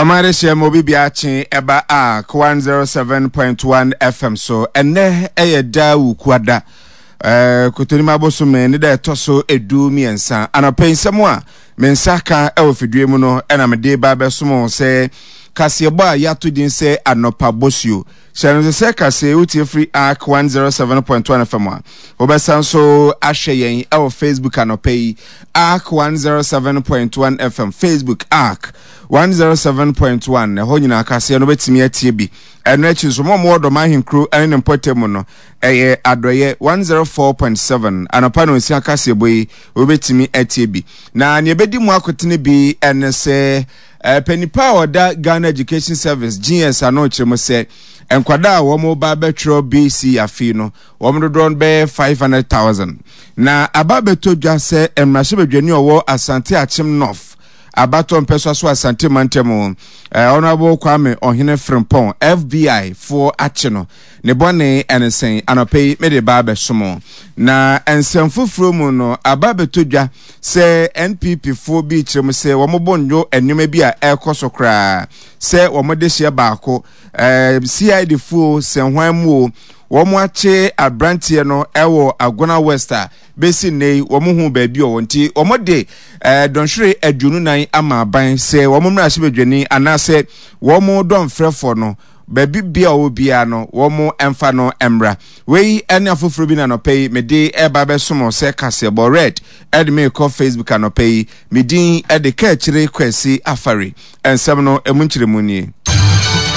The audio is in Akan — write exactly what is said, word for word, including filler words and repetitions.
Ɔman de hyɛ ma obi bia akye ɛba a one oh seven point one F M so. Ɛnɛ ɛyɛ da Wukuada, ɛɛ Kotonim abosome ne da ɛtɔ so edu mmiɛnsa. Anɔpɛ nsɛm a me nsa ka ɛwɔ fidie mu no, ɛna mede ba bɛsom sɛ kaseɛbɔ a yɛato din sɛ Anɔpa Bosuo. Hyɛ no sɛ kaseɛ wotie firi Ark one oh seven point one F M a, wobɛsan so ahwɛ yɛn ɛwɔ Facebook anɔpɛ yi, Ark one oh seven point one F M Facebook, Ark one oh seven point one. Ɛhɔ nyinaa kaseɛ no wobɛtumi atie bi. Ɛno akyi nso, mo a mowɔ Dɔm Ahenkuro ne ne mpɔtam mu no, ɛyɛ Adɔyɛ one oh four point seven. Anɔpa no nsia kaseɛbɔ yi wobɛtumi atie bi. Na nea ɛbɛdi mu akotene bi ɛne sɛ panipa a ɔda Ghana Education Service, G E S, ano kyerɛ mu sɛ nkwadaa a wɔn ba bɛtwerɛ B C afei no, wɔn dodoɔ no bɛyɛ five hundred thousand. Na aba bɛtɔ dwa sɛ mmarahyɛbadwani a ɔwɔ Asante Akyem North abatɔ mpɛsɔ so, Asante mantam, Honourable Kwame Ɔhene Frimpɔn, F B I foɔ akye no. Ne bɔne ɛne sɛn? Anɔpɛ yi mede ba abɛsom. Na nsɛm foforɔ mu no, aba bɛtɔ dwa sɛ N P P foɔ bi kyerɛ mu sɛ wɔn bɔ nnwo nneɛma bi a ɛrekɔ so koraa sɛ wɔn de hyɛ baako ɛɛ C I D foɔ sɛ hwan mu o, wɔn akye aberanteɛ no ɛwɔ Agona West a bɛsi nne yi wɔn ho baabi a wɔn nti wɔn de ɛɛ dɔnhwere aduonu nan ama aban sɛ wɔn mmarahyɛbadwani anaasɛ wɔn dɔnfrɛfoɔ no, baabi bia ɔwɔ biara no, wɔn mfa no mmra. Wei ne afoforɔ bi na anɔpɛ yi mede ɛba bɛsom sɛ kaseɛbɔ red ɛde me kɔ Facebook anɔpɛ yi. Me din ɛde Kaakyire Kwasi Afare. Nsɛm no emu nkyerɛmu nie.